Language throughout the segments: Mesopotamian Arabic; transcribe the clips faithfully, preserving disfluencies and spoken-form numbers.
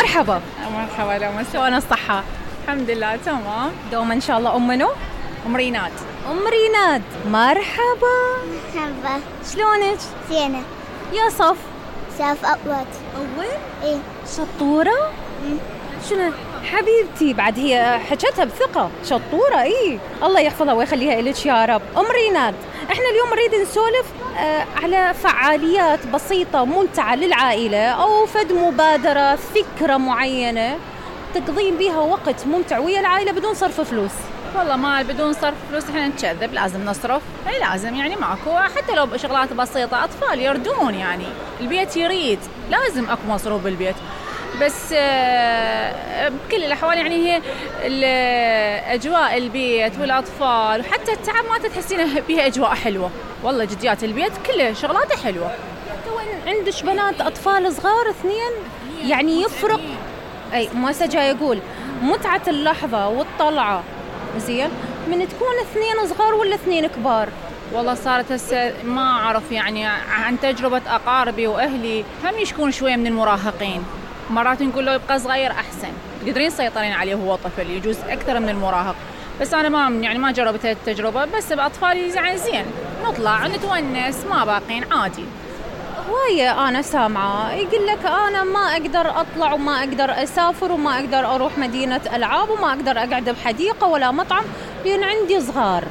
مرحبا. مرحبا لو شلون الصحة؟ الحمد لله تمام. دوما إن شاء الله. أم منو؟ أم ريناد. أم ريناد مرحبا. مرحبا. شلونك؟ زينة. يا صف؟ صف أول. أول؟ إيه. شطورة؟ مم. شنو؟ حبيبتي بعد هي حكتها بثقة. شطورة. إيه الله يحفظها ويخليها إلك يا رب. أم ريناد، إحنا اليوم نريد نسولف آه على فعاليات بسيطة ممتعة للعائلة أو فد مبادرة فكرة معينة تقضين بيها وقت ممتع ويا العائلة بدون صرف فلوس. والله ما بدون صرف فلوس إحنا نكذب، لازم نصرف. إيه لازم يعني ماكو، حتى لو بشغلات بسيطة. أطفال يردون يعني البيت يريد، لازم أكو مصروف بالبيت. بس بكل الأحوال يعني هي أجواء البيت والأطفال وحتى التعب ما تحسينه بيها أجواء حلوة. والله جديات البيت كله شغلاته حلوة. تو عندش بنات أطفال صغار اثنين يعني يفرق. أي ما سجى يقول متعة اللحظة والطلعة زين من تكون اثنين صغار ولا اثنين كبار. والله صارت هسه ما أعرف يعني عن تجربة أقاربي وأهلي هم يشكون شوية من المراهقين. مرات نقول له يبقى صغير أحسن، تقدرين تسيطرين عليه وهو طفل، يجوز أكثر من المراهق. بس أنا ما يعني ما جربت التجربة، بس بأطفالي يعني زين نطلع نتونس ما باقين عادي. هواية أنا سامعة يقول لك أنا ما أقدر أطلع وما أقدر أسافر وما أقدر أروح مدينة ألعاب وما أقدر أقعد بحديقة ولا مطعم لأن عندي صغار.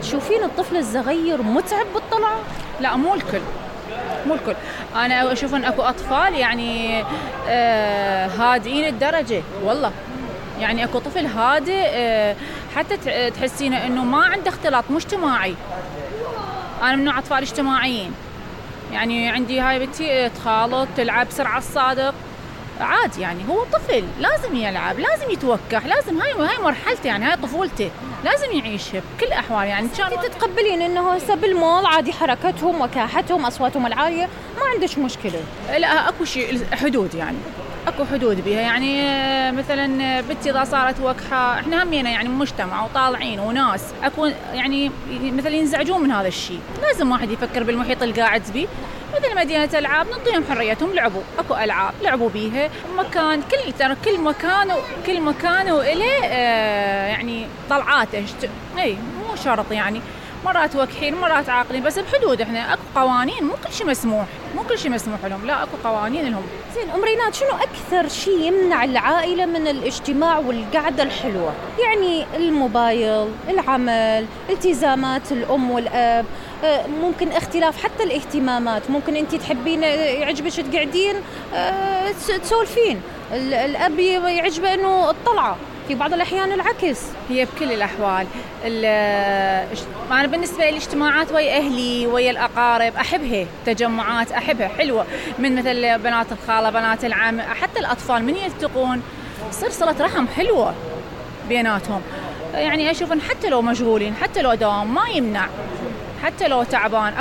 تشوفين الطفل الصغير متعب بالطلعة؟ لا مو الكل، مو الكل. أنا أشوف أن أكو أطفال يعني آه هادئين الدرجة. والله يعني أكو طفل هادئ آه حتى تحسينه أنه ما عنده اختلاط مجتمعي. أنا من نوع أطفال اجتماعيين، يعني عندي هاي بنتي تخالط تلعب سرعة الصادق عادي. يعني هو طفل لازم يلعب، لازم يتوكح، لازم هاي هاي مرحلته يعني هاي طفولته لازم يعيشها بكل الأحوال. يعني إن شاء الله تتقبلين إنه هسه بالمول عادي حركتهم وكاحتهم أصواتهم العالية ما عندش مشكلة. لا أكو شيء حدود، يعني أكو حدود بها. يعني مثلا بنتي إذا صارت وكحة إحنا همينا يعني مجتمع وطالعين وناس أكو يعني مثلا ينزعجون من هذا الشيء. لازم واحد يفكر بالمحيط اللي قاعد بيه. مثل مدينة ألعاب نعطيهم حريتهم، لعبوا أكو ألعاب لعبوا بيها. مكان كل ترى كل مكان وكل مكان وإله آه يعني طلعاته. إيه مو شرط يعني مرات وكحين مرات عاقلين، بس بحدود. إحنا أكو قوانين، مو كل شيء مسموح، مو كل شيء مسموح لهم، لا أكو قوانين لهم. زين أم ريناد، شنو أكثر شيء يمنع العائلة من الاجتماع والقعدة الحلوة؟ يعني الموبايل، العمل، التزامات الأم والأب، ممكن اختلاف حتى الاهتمامات. ممكن أنت تحبين يعجبك تقعدين تسولفين، الأب يعجبه إنه الطلعة، في بعض الأحيان العكس. هي بكل الأحوال أنا بالنسبة للاجتماعات ويا أهلي ويا الأقارب أحبها، تجمعات أحبها حلوة، من مثل بنات الخالة بنات العم حتى الأطفال من يلتقون صير صلة رحم حلوة بيناتهم. يعني أشوف إن حتى لو مشغولين حتى لو دوام ما يمنع، حتى لو تعبان